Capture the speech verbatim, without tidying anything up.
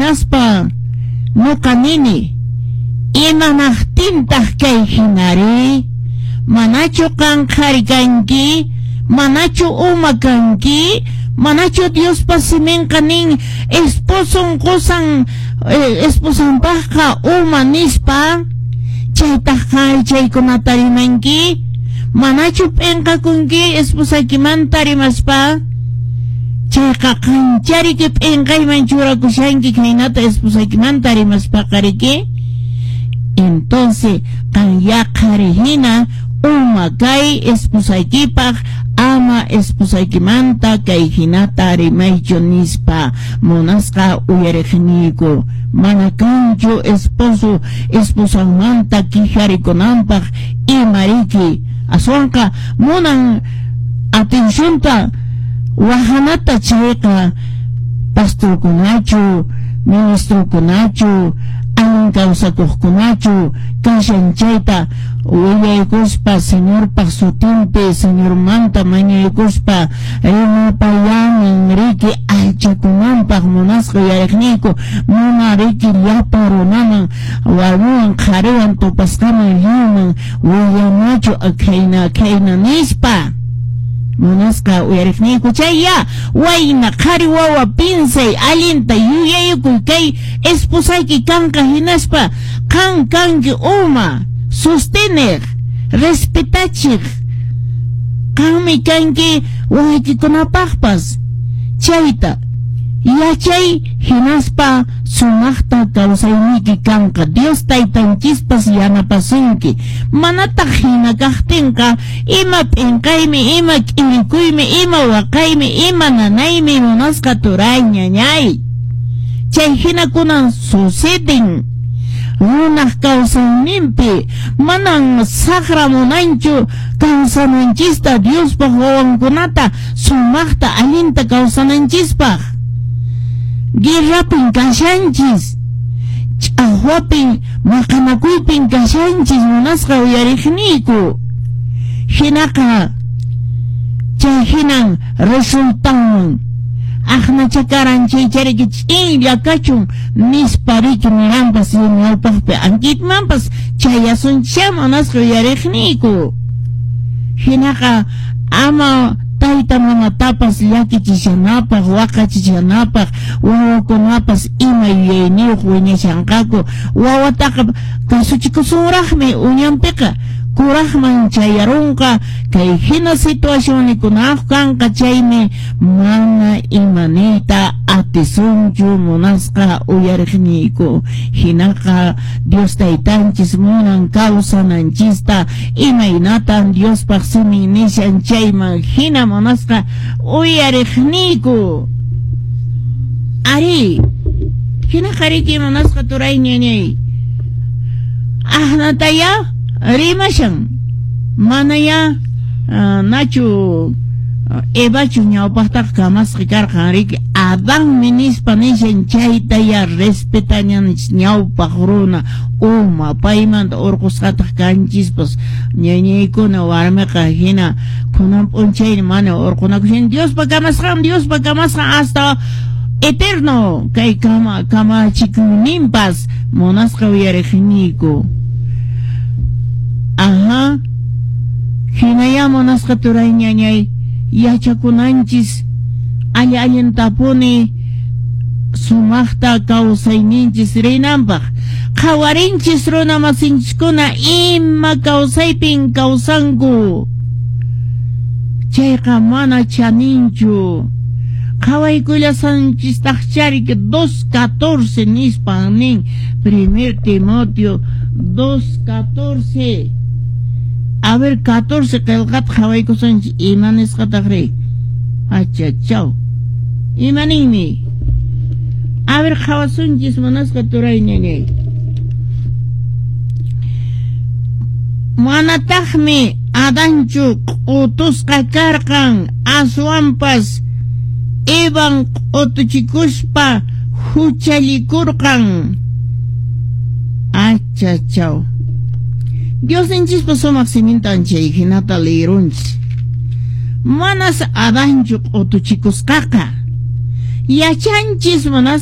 Hinaspa nuqa nini, imanaqtintaq kay hinari? Manachu qan qhari kanki? Manachu uma kanki? Manachu Diospa siminqa nin esposon qosan eh, esposanpaqqa uma nispa? Chaytaq qan chaykunata rimanki? Manachu p'inqakunki esposaykimanta rimaspa? Chayqa qanchariki p'inqayman churakushanki khaynata esposaykimanta rimaspaqa riki? Entonces, qan ya qhari hina uma kay esposaykipaq ama esposaykimanta kay hinata rimaychu nispa munasqa uyariqniyku. Mana kanchu esposo esposanmanta quejarikunanpaq imariki aswanqa munan atencionta wahanata chayqa pastorkunachu ministrokunachu allin kawsakuqkunachu kashan chayta willaykuspa Señorpaq sutinpi Señormanta mañaykuspa rimapayanin riki allchakunanpaq munasqa uyariqniyku mana riki llapa runaman warmiwan qhariwan tupasqaman lliwman willanachu khayna khayna nispa munasqa uyariqniyku. Chaya wayna qhari wawa pinsay allinta yuyaykuy kay esposayki kanqa hinaspa qan kanki uma sostener respetachiq qanmi kanki wawaykikunapaqpas chayta yachay hinaspa sumaqta kawsayniyki kanqa Dios taytanchispas yanapasunki manataq hina kaqtinqa ima p'inqaymi ima k'irikuymi ima waqaymi ima nanaymi munasqa turay ñañay chay hinakunan suceden runaq kawsayninpi manan saqra munanchu kawsananchista Diospaq wawankunata sumaqta allinta kawsananchispaq guerrapin kashanchis ch'aqwapin maqanakuypin kashanchis munasqa uyariqniyku hinaqa chay hinan resultanman aqnachakaran chaychariki ch'inlla kachun nispa riki niranpas ñawpaqpi ankitmanpas chayasunchá munasqa uyariqniyku hinaqa ama tayta mamatapas llakichishanapaq waqachishanapaq wawakunapas ima yuyayniyuq wiñashanqaku wawataqa kasuchikusunraqmi uñanpiqa kuraqman chayarunqa kay hina situacionnikunaq kanqa chaymi mana imaniyta atisunchu munasqa uyariqniyku hinaqa Dios taytanchis munan kawsananchista imaynatan Diospaq simin nishan chayman hina munasqa uyariqniyku ari hinaqa riki munasqa turay ñañay ahnataya rimashan manaya uh, nachu Evachu ñawpaqtaqa kamasqa karqan riki Adanmi nispa nishan chayta ya respetañanchis ñawpaq runa uma paymanta urqusqataq kanchispas ñañaykuna warmiqa hina kunan p'unchayni mana urqunakushan Diospa kamasqan Diospa kamasqan hasta eterno kay kama kamachikuyninpas munasqa uyariqniyku. Ajá, hinaya munasqa turay ñañay yachakunanchis alli allintapuni sumaqta kawsayninchis rinanpaq qhawarinchis runa masinchiskuna ima kawsaypin kawsanku chayqa mana chaninchu qhawaykullasanchistaqchariki dos catorce nispan nin primer Timoteo dos catorce. A ver, catorce qillqata qhawaykusunchis ima nisqataq ri achachaw ima ninmi a ver qhawasunchis munasqa turay ñañay manataqmi Adanchu q'utusqa karqan aswanpas Evan q'utuchikuspa huchallikurqan achachaw Diosninchispa sumaq simintan chay hinata lirunchis manas Adanchu q'utuchikusqaqa yachanchis manas